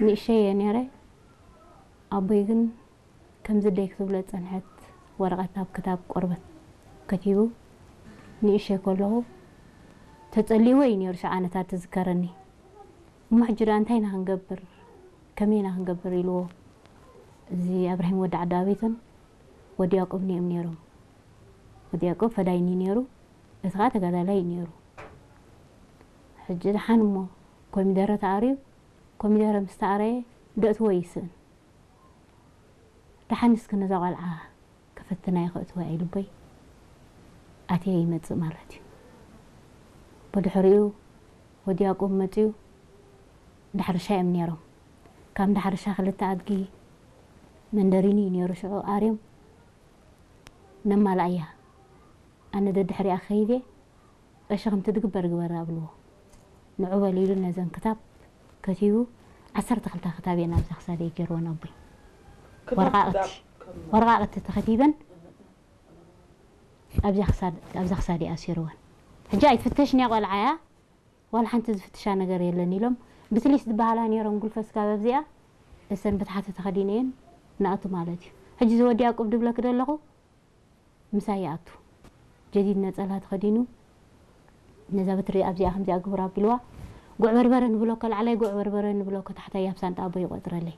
ንእሸይ እየ ነይረ። ኣቦይ ግን ከምዚ ደይ ክትብሎ ዝጸንሐት ወረቐት ኣብ ክታብ ቆርበት ከቲቡ ንእሸይ ከለኹ ተጸሊእዎ እዩ ነይሩ። ሽዓ ዓመታት ትዝከረኒ። እሞ ሕጂ ደኣ እንታይ ኢና ክንገብር፣ ከመይ ኢና ክንገብር ኢልዎ። እዚ ኣብርሂም ወዲ ዓዲ ኣቤትን ወዲ ያዕቆብ እዮም ነይሮም። ወዲ ያዕቆብ ፈዳይኒ ነይሩ፣ እቲ ኸዓ ተጋዳላይ እዩ ነይሩ። ሕጂ ደሓን እሞ ኮሚደረ ተኣርዩ፣ ኮሚደረ ምስ ተኣረየ ደእትዎ ይስእን። ደሓን እስኪ ነዛ ቆልዓ ከፈትና ይኸእትዋ ኢሉ ኣቦይ ኣትየ ይመጽእ ማለት እዩ። ብድሕሪኡ ወዲ ያዕቆብ መጽዩ ዳሕርሻ እዮም ነይሮም። ካብ ዳሕርሻ ክልተ ኣድጊ መንደሪኒ እዩ ነይሩ ሽዑ ኣርዮም ነማልኣያ። ኣነ ደድሕሪኣ ከይደ ቀሺ ከምቲ ድግበር ግበር ኣብልዎ። ንዑ በል ኢሉ ነዘን ክታብ ከቲቡ ዓሰርተ ክልተ ክታብ እየን ኣብዛ ክሳደይ ገይርወን ኣቦይ። ወረቓቕቲ ወረቓቕቲ ተኸቲበን ኣብዛ ክሳድ ኣብዛ ክሳደይ ኣሲርወን። ሕጂ ኣይትፍተሽን እያ ቆልዓ እያ፣ ዋላ ሓንቲ ዝፍትሻ ነገር የለን ኢሎም ብትሊስ ዝበሃላ ነይሮም ጉልፈ ስጋብ ኣብዚኣ እሰን ብታሕቲ ተኸዲነየን ንኣቱ ማለት እዩ። ሕጂ እዚ ወዲ ያዕቆብ ድብለኪ ዘለኹ ምሳይ ይኣቱ። ጀዲድ ነጸላ ተኸዲኑ ነዛ በትሪ ኣብዚኣ ከምዚኣ ግብራ ኣቢልዋ። ጉዕ በርበረ ንብሎ ከላዕላይ፣ ጉዕ በርበረ ንብሎ ከታሕታይ ኣብ ሳንጣ ኣቦ ይቆጽረለይ።